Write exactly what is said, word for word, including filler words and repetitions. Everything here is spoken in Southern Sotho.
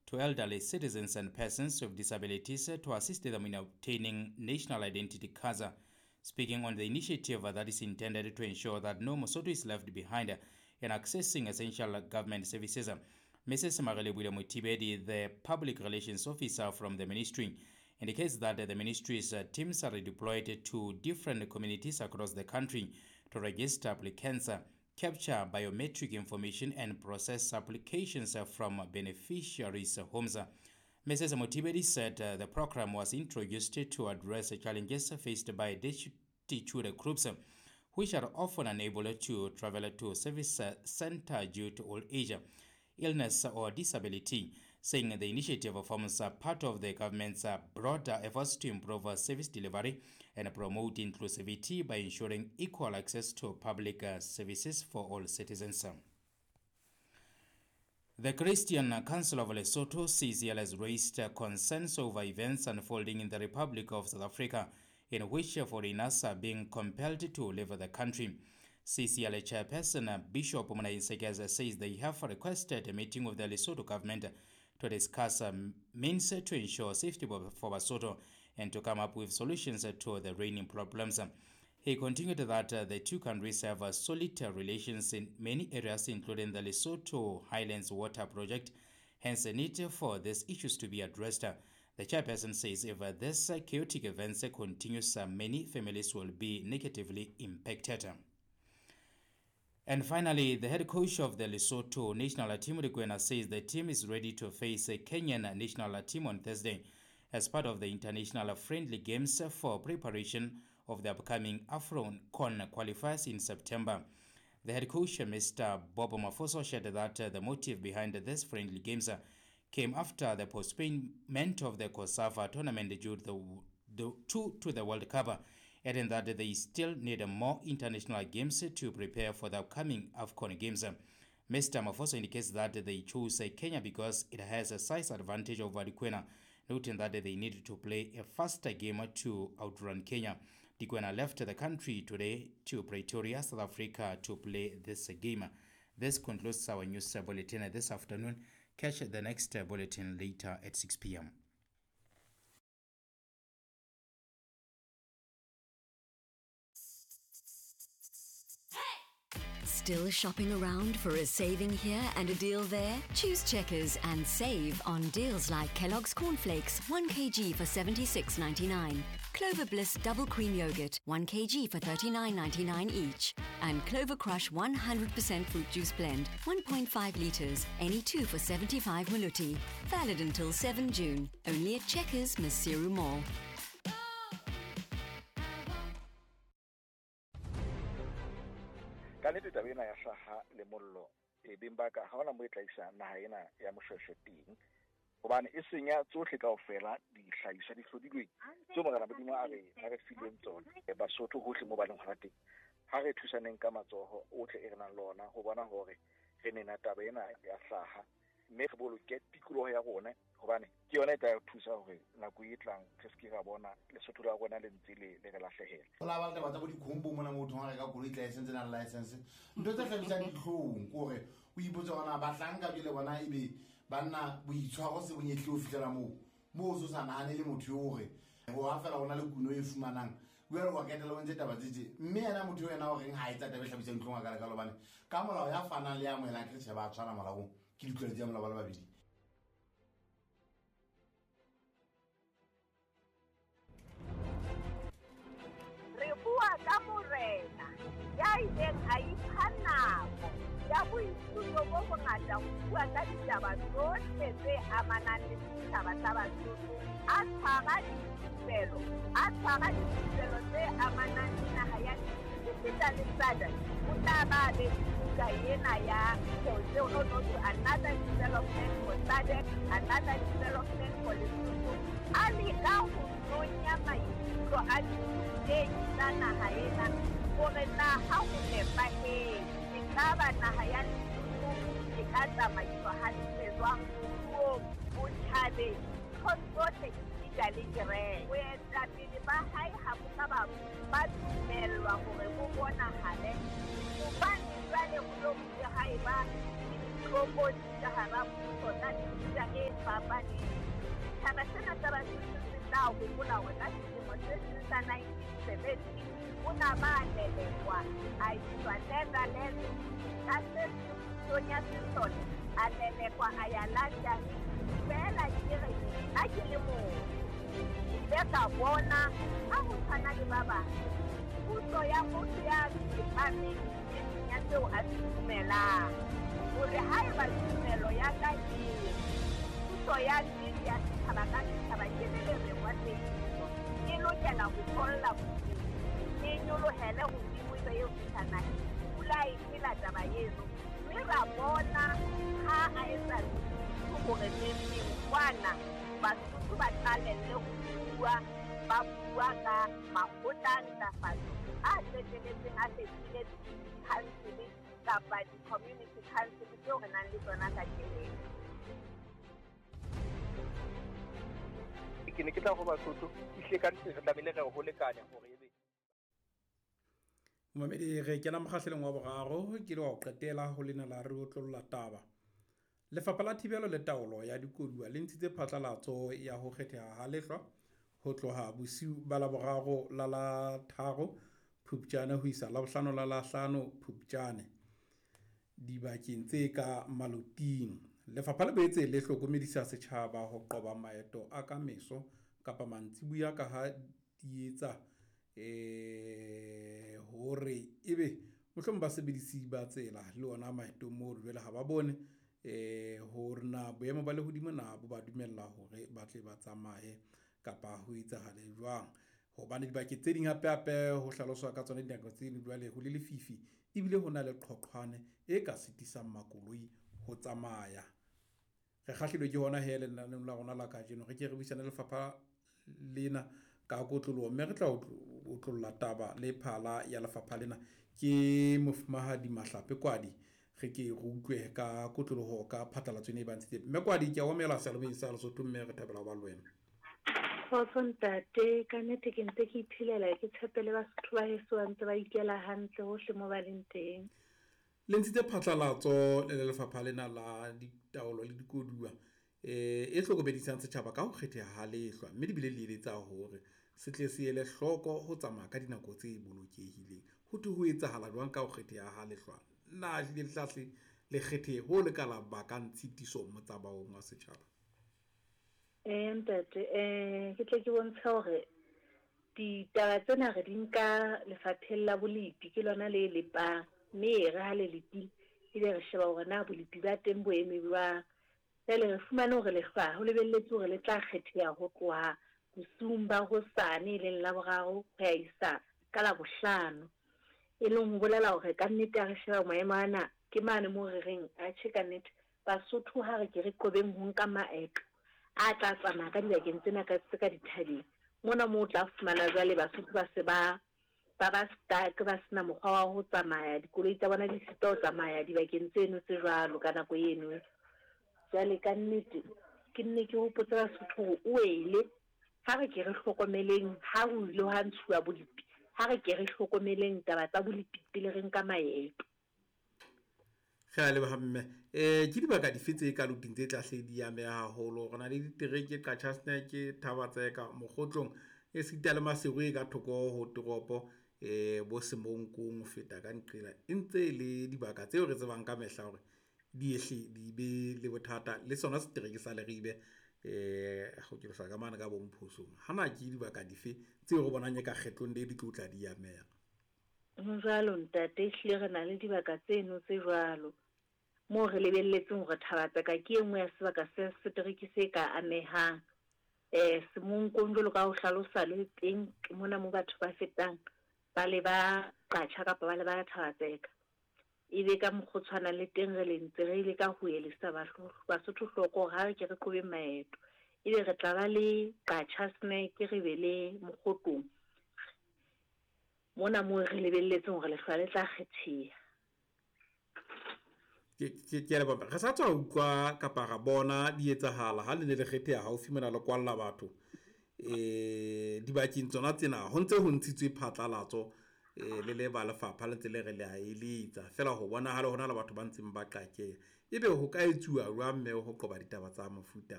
to elderly citizens and persons with disabilities to assist them in obtaining national identity cards. Speaking on the initiative that is intended to ensure that no Mosotho is left behind in accessing essential government services, Missus Marelebule Mothibedi, the public relations officer from the ministry, indicates that the ministry's teams are redeployed to different communities across the country to register applicants, capture biometric information and process applications from beneficiaries' homes. Missus Mothibedi said the program was introduced to address challenges faced by destitute groups, which are often unable to travel to service center due to old age, illness or disability, saying the initiative forms part of the government's broader efforts to improve service delivery and promote inclusivity by ensuring equal access to public services for all citizens. The Christian Council of Lesotho, C C L, has raised concerns over events unfolding in the Republic of South Africa in which foreigners are being compelled to leave the country. C C L chairperson Bishop Monaeng Sekese says they have requested a meeting with the Lesotho government to discuss means to ensure safety for Basotho and to come up with solutions to the reigning problems. He continued that the two countries have solid relations in many areas, including the Lesotho Highlands Water Project, hence the need for these issues to be addressed. The chairperson says if this chaotic events continues, many families will be negatively impacted. And finally, the head coach of the Lesotho national team, Dikwena, says the team is ready to face a Kenyan national team on Thursday as part of the international friendly games for preparation of the upcoming AFCON qualifiers in September. The head coach, Mister Bob Mafoso, shared that the motive behind this friendly games came after the postponement of the COSAFA tournament due to the, the, to, to the World Cup, adding that they still need more international games to prepare for the upcoming AFCON games. Mister Mafoso indicates that they chose Kenya because it has a size advantage over Dikwena, noting that they need to play a faster game to outrun Kenya. Dikwena left the country today to Pretoria, South Africa, to play this game. This concludes our news bulletin this afternoon. Catch the next bulletin later at six p m Still shopping around for a saving here and a deal there? Choose Checkers and save on deals like Kellogg's Cornflakes, one kilogram for seventy-six ninety-nine, Clover Bliss Double Cream Yogurt, one kilogram for thirty-nine ninety-nine each, and Clover Crush one hundred percent Fruit Juice Blend, one point five litres, any two for seventy-five maluti. Valid until seven June, only at Checkers, Maseru Mall. Ka nnete taba ena ya hlaha le mollo e beng ba ka ha hona mo e tla isa naha ena ya Moshweshwe teng, hobane e senya tsohle kaofela dihlahiswa di hlodilweng tseo Morena Modimo a re a re fileng tsona. Basotho hohle mo ba leng hona teng, ha re thusaneng ka matsoho ohle e re nang le ona ho bona hore re nena taba ena ya hlaha, mme re boloke tikoloho ya rona, hobane ke yona e tla re thusa hore nako e tlang re se ke ra bona Lesotho la rona le ntse le le re lahlehela. Ho la ba le taba tsa bo dikhombo mona motho ha reka koloi tla e sentse nang license, ntho tse hlabisang dihlong ke hore o ipotse hore na bahlanka jwale bona ebe banna boitshwaro se bonyehle ho fihlela moo moo o so sa nahane le motho eo hore ho ha fela hona le kuno e fumanang jwale wa ketela o ntse taba tse tje, mme yena motho eo yena o reng ha etsa taba e hlabisang dihlong a ka lekalo, hobane ka molao ya fanang le ya amohelang ke re tjhe ba tshwana molaong, ke ditlwaelo tsa molao ba le babedi. Re bua ka morena ya ileng a ipha nako ya boithuto bo bongata ho bua ka ditaba tsohle tse amanang le setjhaba sa Basotho, a tshwara dithupelo, a tshwara dithupelo tse amanang le naha ya esita le S A D C. O tla ba be buka ena ya another development for S A D C, another development for Lesotho. A leka ho nonya maikutlo a dithutehi tsa naha ena hore na ha ho nepahetse ekaba naha ya Lesotho e ka tsamaiswa hantle jwang moruong, botjhabeng, ntho tsohle esita le kereke. Boetapele ba hae ha bo ka ba ba dumellwa hore bo bonahale, hobane jwale ho lo bile ha eba le ditlokotsi ka hara puso tsa mefuta e fapaneng. Setjhaba sena sa Basotho se tla hopola hore ka selemo se seng sa nineteen seventy o na ba lelekwa a iswa Netherlands ka se pusong ya sesole a lelekwa a ya London. Feela ke re ha ke le motho ke ile ka bona ha ho tshwana le ba bang puso ya motho ya tsepameng e seng ya seo a se dumelang, hore haeba tumelo ya ka ke puso ya nnete ya setjhaba ka setjhaba ke le lereng wa tsebiso e lokela ho tholla bodimo, e nyolohele hodimo ebe eo fihla naheng. Pula e phela taba eno, mme ra bona ha a etsa hore neng kwana Basotho ba qalelle ho bua, ba bua ka makgotla a ntlafatso a qetelletseng a fetohile di-council kapa di-community council tseo re nang le tsona kajeno. Ke ne ke tla ho Basotho ehlile ka nnete re tlamehile re ho lekane hore ebe Momamedi, re kena mokgahlelong wa boraro ke le wa ho qetela ho lena la re otlolla taba. Lefapha la Thibelo le Taolo ya Dikoduwa le ntshitse phatlalatso ya ho kgetheha ha lehlwa ho tloha bosiu ba Laboraro la la tharo Phupjane ho isa Labohlano la la hlano Phupjane dibakeng tse ka maloting. Lefapha le boetse le hlokomedisa setjhaba ho qoba maeto a ka meso kapa mantsibuya ka ha di etsa eh hore ebe mohlomong basebedisi ba tsela le ona maetong moo jwale ha ba bone eh hore na boemo ba lehodimo na bo ba dumella hore ba tle ba tsamaye kapa ho etsahale jwang. Hobane dibakeng tse ding hape hape ho hlaloswa ka tsona dinako tse ding jwale ho le lefifi ebile ho na le qhoqhwane e ka sitisang makoloi ho tsamaya. Re kgahlilwe ke hona he lenaneong la rona la kajeno, re ke re buisane le lefapha lena ka kotloloho, mme re tla otlolla taba le phala ya lefapha lena ke Mofumahadi Mahlape Kwadi. Re ke re utlwe ka kotloloho ka phatlalatso ena e ba ntshitseng. Mme Kwadi, ke a o amohela seyalemoyeng sa Lesotho, mme re thabela ho ba le wena. Kgotso ntate, ka nnete ke ntse ke iphelela, ke tshepele Basotho ba heso ba ntse ba ikela hantle hohle mo ba leng teng. Le ntshitse phatlalatso le lefapha lena la ditaolo le dikoduwa eh e hlokomedisang setjhaba ka ho kgetheha ha lehlwa, mme di bile le eletsa hore se tle se ele hloko ho tsamaya ka dinako tse bolokehileng. Ho thwe ho etsahala jwang ka ho kgetheha ha lehlwa? Na ehlile le tla hle le kgethehe ho le ka la bakang tshitiso motsamaong wa setjhaba? Eh ntate, eh ke tle ke bontshe hore ditaba tsena re di nka lefapheng la bolepi, ke lona le lepang, mme re ha le lepile ebe re sheba hore na bolepi ba teng bo eme jwang. Jwale re fumane hore lehlwa ho lebelletse hore le tla kgetheha ho tloha bosiung ba hosane e leng Laboraro ho ya isa ka Labohlano, e leng ho bolela hore ka nnete ha re sheba maemo ana ke mane moo re reng atjhe ka nnete Basotho ha re ke re qobeng ho nka maeto a tla tsamaya ka dibakeng tsena ka tse ka dithabeng mona moo o tla fumana jwale Basotho ba se ba ba ba stuck, ba sena mokgwa wa ho tsamaya, dikoloi tsa bona di sitwa ho tsamaya dibakeng tseno tse jwalo ka nako eno. Jwale ka nnete ke nne ke hopotse Basotho hore o wele, ha re ke re hlokomeleng ha ho ile ha ntshuwa bolepi, ha re ke re hlokomeleng taba tsa bolepi pele re nka maeto. Re a leboha mme. Eh ke dibaka dife tse ka loting tse tla hle di ameha haholo? Re na le ditereke Qacha's Nek, Thaba-Tseka, Mokgotlong, esita le Maseru e ka thoko ho toropo eh bo Semonkong ho feta ka nqela. E ntse e le dibaka tseo re tsebang ka mehla hore di ehle di be le bothata le sona setereke sa Leribe eh ho ke ka mane ka bomphosong. Hana ke dibaka dife tseo re bonang e ka kgetlong le di tlo tla di ameha? Ho jwalo ntate, ehlile re na le dibaka tseno tse jwalo moo re lebelletseng hore Thaba-Tseka ke e nngwe ya sebaka se setereke se ka amehang. Eh Semonkong jwalo ka ho hlalosa le teng mona mo batho ba fetang ba le ba Qacha kapa ba le ba Thaba-Tseka. Ebe ka mokgwa o tshwanang le teng re le ntse re ile ka ho elisa Basotho hloko hore ha re ke re qobe maeto. Ebe re tla ba le Qacha's Nek, re be le Mokgotlong mona moo re lebelletseng hore lehlwa le tla kgetheha. Ke ke ke a leboha. Re sa tswa utlwa kapa ra bona di etsahala ha le ne le kgetheha haufi mona le kwalla batho eh dibakeng tsona tsena ho ntse ho ntshitswe phatlalatso eh le le ba lefapha le ntse le re le a eletsa feela ho bonahala hona le batho ba ntseng ba qakeha. Ebe ho ka etsuwa jwang mme ho qoba ditaba tsa mofuta o?